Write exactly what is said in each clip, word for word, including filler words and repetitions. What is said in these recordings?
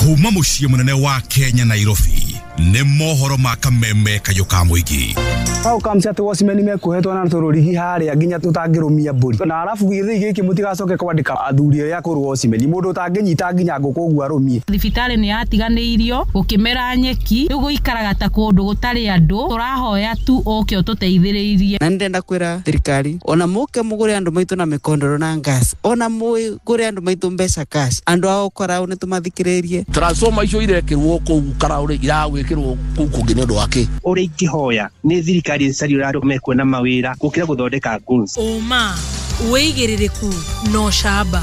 Kuma mũciĩ mũnene wa Kenya, Nairobi, nĩ mohoro ma kameme kayũ ka mũingĩ. Hau kamci atĩ watchman mekuohetwo na tũrũrigi harĩa nginya tũtangĩrũmia mbũri, na arabu gĩthĩi gĩkĩ mũtigacoke kwandĩka athuri arĩa akũrũ watchman, mũndũ ũtangĩnyita nginya ngũkũ ũguo arũmie. Thibitarĩ nĩ yatiganĩirio, gũkĩmera nyeki, rĩu gũikaraga ta kũndũ gũtarĩ andũ. Tũrahoya tu ũke ũtũteithĩrĩirie. Na ndĩrenda kwĩra thirikari ona mũke mũgũre andũ maitũ na mĩkondoro na gas, ona mũgũre andũ maitũ mbeca cash, andũ ao karaũ nĩ tũmathikĩrĩrie. Transformer icio irekĩrwo kũu karaũ rĩ, iragwĩkĩrwo kũu kũngĩ nĩ ũndũ wa kĩ? Ũrĩa ingĩhoya nĩ thirikari ĩcarie ũrĩa andũ mekuona mawĩra gũkĩra gũthondeka goons. Ũma, wĩigĩrĩrĩku na ũcamba.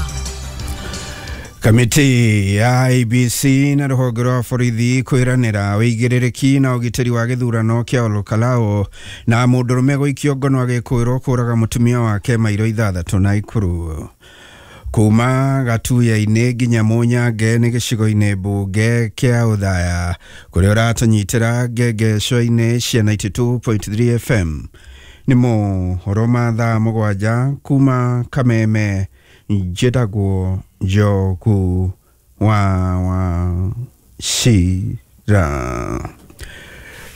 Kamĩtĩ ya I E B C na rũhonge rwa borithi kwĩranĩra wĩigĩrĩrĩki na ũgitĩri wa gĩthurano kĩa Olkalou, na mũndũrũme gũikio ngono agĩkũĩrwo kũraga mũtumia wake mairo ithathatũ na Ikuru. Kuma Gatuya-inĩ nginya Mũnyange nĩ gĩcigo-inĩ mbunge kĩa Ũthaya, kũrĩa ũratũnyitĩra ngengeco-inĩ cia mĩrongo kenda na igĩrĩ turuma ithatũ F M. Nĩ mohoro ma thaa mũgwanja kuma Kameme. Njĩtagwo Njogu wa Wachira.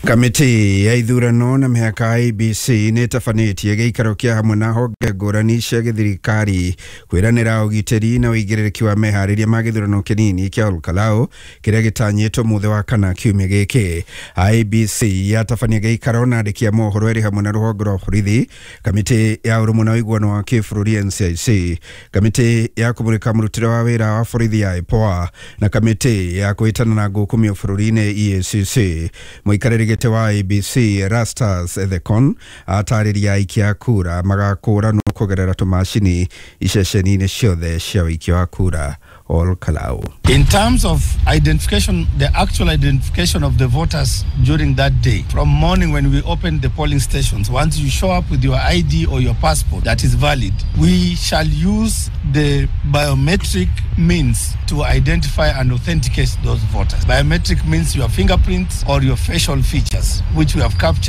Kamĩtĩ ya ithurano na mĩhaka I E B C nĩ ĩtabanĩtie gĩikaro kĩa hamwe na honge ngũrani cia gĩthirikari kwĩranĩra ũgitĩri na ũigĩrĩrĩki wa meharĩria ma gĩthurano kĩnini kĩa Olkalou kĩrĩa gĩtanyĩtwo mũthĩ wa kana kiumia gĩkĩ. I E B C yatabania gĩikaro na andĩki a mohoro ĩrĩ hamwe na rũhonge rwa borithi, kamĩtĩ ya ũrũmwe na ũiguano wa kĩbũrũri N C I C, kamĩtĩ ya kũmũrĩka mũrutĩre wa wĩra wa borithi ya IPOA, na kamĩtĩ ya kũhĩtana na ngũkũmio bũrũri-inĩ E A C C. Mũikarĩri gĩtĩ wa I E B C Erastus Ethekon atarĩria aikia a kura magakũranwo kũgerera tũmacini iceceni-inĩ ciothe cia ũikia wa kura Olkalou. In terms of identification, the actual identification of the voters during that day, from morning when we open the polling stations, once you show up with your I D or your passport that is valid, we shall use the biometric means to identify and authenticate those voters. Biometric means your fingerprints or your facial features, which we have captured.